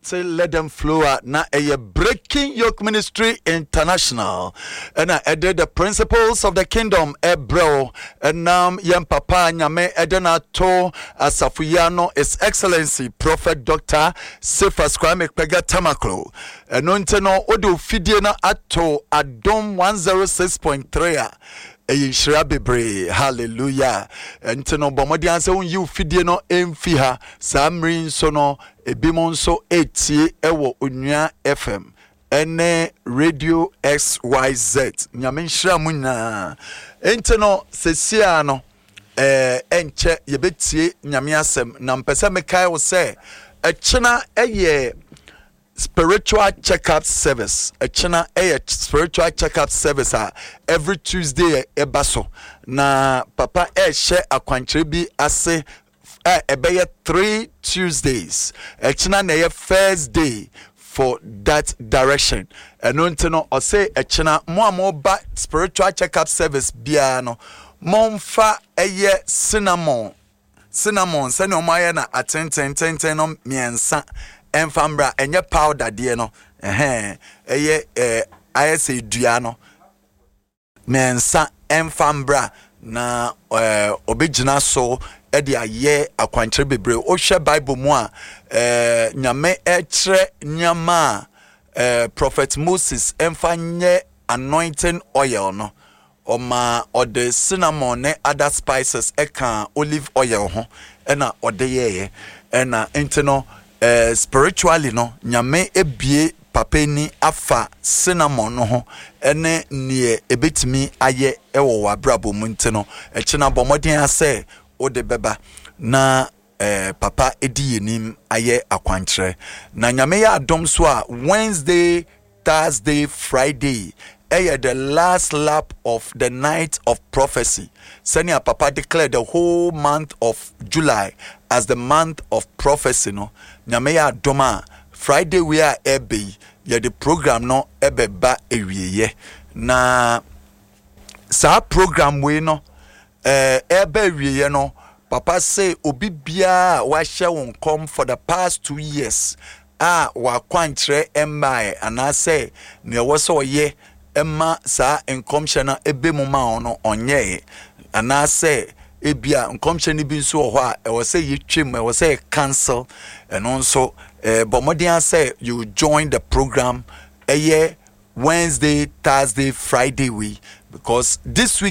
Say Let Them Flow a na ɛyɛ Breaking Yoke Ministry International ɛna ɛde The Principles of the Kingdom ɛbrɛ wo ɛnam yɛn papa Nyame ɛde no ato asafo yi ano, His Excellency Prophet Doctor Cephas Kwame Kpegah Tamaklo. Ɛno nti no wode ofidie no ato Adom 106.3 a ɛyɛ nhyira bebree. Hallelujah. Ɛnti no bɔ mmɔden sɛ wonyi wo fidie no mfi ha saa mmere nso no. Ebinom nso retie wɔ Onua FM ne Radio XYZ. Nyame nhyira mo nyinaa. Enti no, sesia no, ɛɛ ɛnkyɛ yɛbɛtie Nyame asɛm. Na mpɛ sɛ mekae wo sɛ, ɛkyena ɛyɛ spiritual checkup service. Ɛkyena ɛyɛ spiritual checkup service a every Tuesday ɛba so. Na papa ɛrehyɛ akwankyerɛ bi ase a ɛbɛyɛ 3 Tuesdays. Ɛkyena na ɛyɛ first day for that direction. Ɛno nti no ɔsɛ ɛkyena mo a moba spiritual checkup service biara no, momfa ɛyɛ cinnamon, cinnamon sɛnea wɔn ayɛ na atentententen no mmiɛnsa ɛmfa mbra. Ɛnyɛ powder deɛ no, ɛhɛn, ɛyɛ ayɛ sɛ dua no mmiɛnsa ɛmfa mbra na ɔbɛgyina so ɛde ayɛ akwankyerɛ bebree. Wohwɛ Bible mu a, Nyame ɛkyerɛ nneɛma a Prophet Moses ɛmfa nyɛ anointing oil no, ɔma ɔde cinnamon ne other spices ɛka olive oil ho ɛna ɔde yɛɛyɛ. Ɛna nti no spiritually no, Nyame ebie papa ni afa cinnamon no ho ɛne neɛ ebetumi ayɛ ɛwɔ w'abrabɔ mu. Nti no ɛkyina bɔ mmɔden asɛ wode bɛba na papa edi yɛn nim ayɛ akwankyerɛ. Na Nyame yɛ adom so a, Wednesday, Thursday, Friday ɛyɛ the last lap of the Night of Prophecy. Sɛnea papa declare the whole month of July as the month of prophecy no, Nyame yɛ adom a, Friday wei a ɛbɛ yi yɛde program no ɛbɛba awieɛ. Na saa program wei no ɛbɛ awieɛ no, papa sɛ obi biara a wahyɛ wo nkɔm for the past 2 years a wakwankyerɛ mmae anaasɛ nea ɛwɔ sɛ ɔyɛ ɛma saa nkɔmhyɛ no ɛbɛ mu ma wo no ɔnyɛɛ, anaasɛ ebia nkɔmhyɛ no bi nso wɔ hɔ a ɛwɔ sɛ yɛtwam, ɛwɔ sɛ yɛ cancel, ɛno nso bɔ mmɔden sɛ you join the program ɛyɛ Wednesday, Thursday, Friday wei, because this week